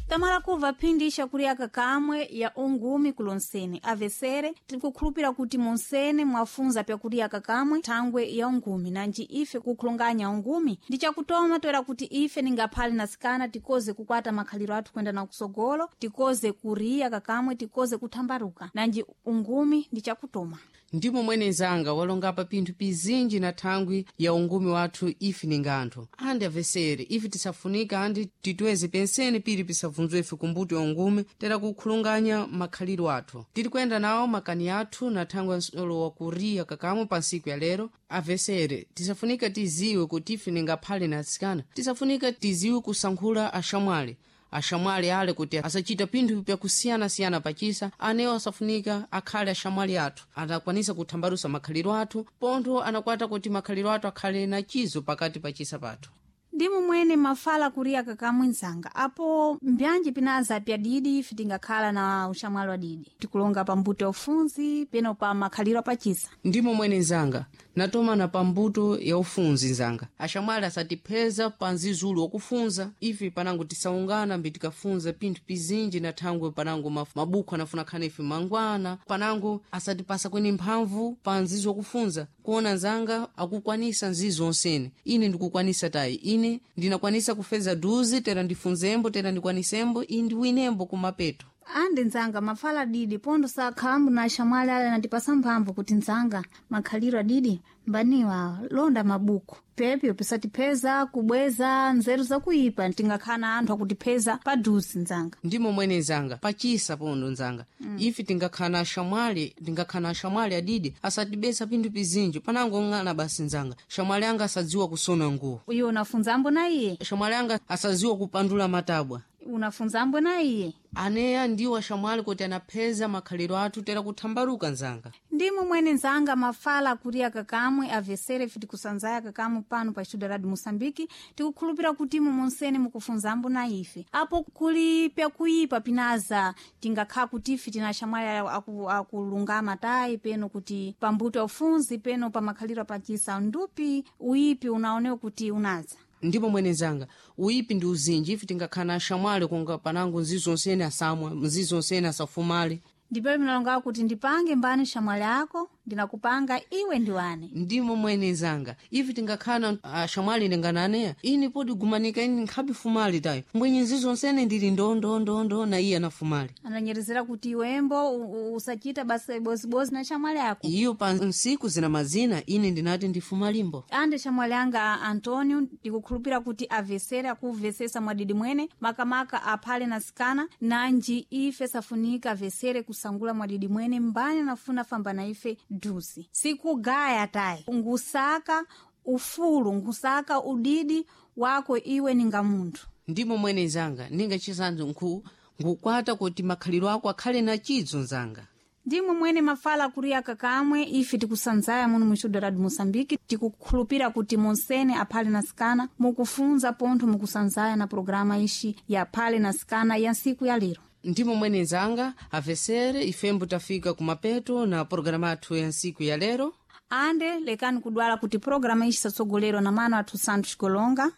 Tamala kuva phindi ixakuliyaka kamwe ya ungumi kulonsene avesere tikukhulupira kuti monsene mwafunza pyakuliyaka kamwe thangwe ya ungumi nanji ife kukhulonganya ungumi ndi chakutoma toera kuti ife ningaphale nasikana tikoze kukwata makhaliro athu kuyenda na kusogolo, tikoze kuriya kakamwe, tikoze kuthambaruka nanji ungumi ndi chakutoma. Ndimo mwene nzanga walongapa pinthu pizinji na thangwi ya ungumi wathu ife ninga anthu andi avesere ife tisafunika andi titweze pensene pili pisabvunzwe ife kumbuto ya ungumi tera kukhulunganya makhaliro athu. Tiri kuyenda nawo makani athu na thangwi ya nsolo wa kuriya kakamwe pa ntsiku ya lero. Avesere tisafunika tiziwe kuti ife ningaphale na atsikana, tisafunika tiziwe kusankhula axamwali, axamwali ale kuti asachita pinthu pyakusiyanasiyana pachisa, anewo asafunika akhale axamwali athu anakwanisa kuthambalusa makhaliro athu pontho anakwata kuti makhaliro athu akhale na chizo pakati pachisa pathu. Ndi momwene mafala kuriya kakamwe nzanga apo mbyanji pinaza pyadidi ife tingakhala na uxamwali wa didi tikulonga pa mbuto ya ufunzi peno pa makhaliro apachisa. Ndimo mwene nzanga natomana pa mbuto ya ufunzi nzanga, axamwali asatipheza pa nzizulu wakufunza ife panango tisaungana mbi tikafunza pinthu pizinji na thangwe panango mabuku anafuna khana ife mangwana panango asatipasa kweni mphamvu pa nzizo wakufunza kuona nzanga akukwanisa nzizo onsene ine ndikukwanisa tayi, ine ndinakwanisa kufeza duzi tera ndifunzembo tera ndikwanisembo iyi ndiwinembo kumapeto. Andi nzanga mafala didi pondo sakhalambu na axamwali ale anatipasa mphamvu kuti nzanga makhaliro adidi mbaniwa londa mabuku pepyo pisatipheza kubweza nzeru zakuipa tingakhala na anthu akutipheza paduzi nzanga. Ndimo mwene nzanga pachisa pondo nzanga ife tingakhala na axamwali, tingakhala na axamwali adidi asatibesa pinthu pizinji panango ng'ana basi nzanga xamwali anga asadziwa kusona nguwo. Iwe unafunzambo na iye? Xamwali anga asadziwa kupandula matabwa. Unafunzambo na iye? Aneya ndiwo axamwali kuti anapheza makhaliro athu tera kuthambaluka nzanga. Ndimo mwene nzanga mafala akuriya kakamwe avesere ife tikusanzaya kakamwe pano pa Estudio Radio Moçambique tikukhulupira kuti imo monsene mukufunzambo na ife apo kuli pyakuipa pinaza tingakhala kuti ife tina axamwali akulungama tayi peno kuti pambuto ya ufunzi peno pa makhaliro apachisa ndupi uipi unaonewa kuti unaza. Ndipo mwene nzanga uipi ndi uzinji ife tingakhala na axamwali kunga panango nzizo onsene asamwa, nzizo onsene asafumale. Ndipo minalonga kuti ndipange mbani xamwali ako ndinakupanga iwe ndiwane. Ndimo mwene nzanga ife tingakhala axamwali ndingananeya ine podi gumanika ine nkhabe fumali tayo mbwenye nzizo onsene ndili ndondondo na iye anafumali. Ananyerezera kuti iwembo usachita basa bozibozi na xamwali ako. Iyo pa nsiku zina mazina ine ndinati ndifumalimbo. Ande xamwali anga Antonio ndikukhulupira kuti avesere akuvesesa mwadidi mwene makamaka aphale na sikana nanji ife safunika avesere kusangula mwadidi mwene mbani anafuna famba na ife duzi sikugaya tayi ngusaka ufulu ngusaka udidi wako iwe ninga munthu. Ndimo mwene nzanga ninga chisanzo nkukwata kuti makhaliro ako akhale na chidzo nzanga. Ndimo mwene mafala kuriya kakamwe ife tikusanzaya muno mu Estudio Radio Moçambique tikukhulupira kuti monsene aphale na sikana mukufunza pontho mukusanzaya na programa ixi ya phale na sikana ya ntsiku ya lero. Ndimo mwene nzanga avesere ifembo tafika kumapeto na programa athu ya ntsiku ya lero. Ande lekani kudwala kuti programa ixi satsogolerwa na mano athu Santos Golonga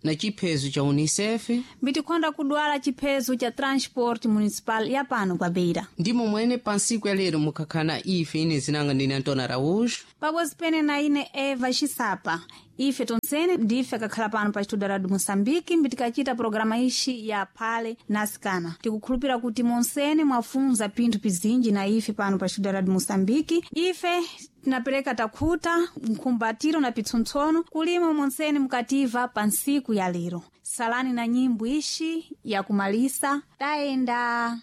na chiphezo cha Unicef mbitikhonda kudwala chiphezo cha transport municipal ya pano pa Beira. Ndimo mwene pa ntsiku ya lero mukhakhala ife ine zinanga ndine Antônio Araújo pabodzi pene na ine Eva Xisapa. Ife tonsene ndife akakhala pano pa Estudio Radio Moçambique mbitikachita programa ixi ya phale na sikana. Tikukhulupira kuti monsene mwafunza pinthu pizinji na ife pano pa Estudio Radio Moçambique. Ife tinapereka takhuta mkhumbatiro na pitsontsono kulima monsene mukativa pa ntsiku ya lero. Salani na nyimbo ixi yakumalisa tayenda.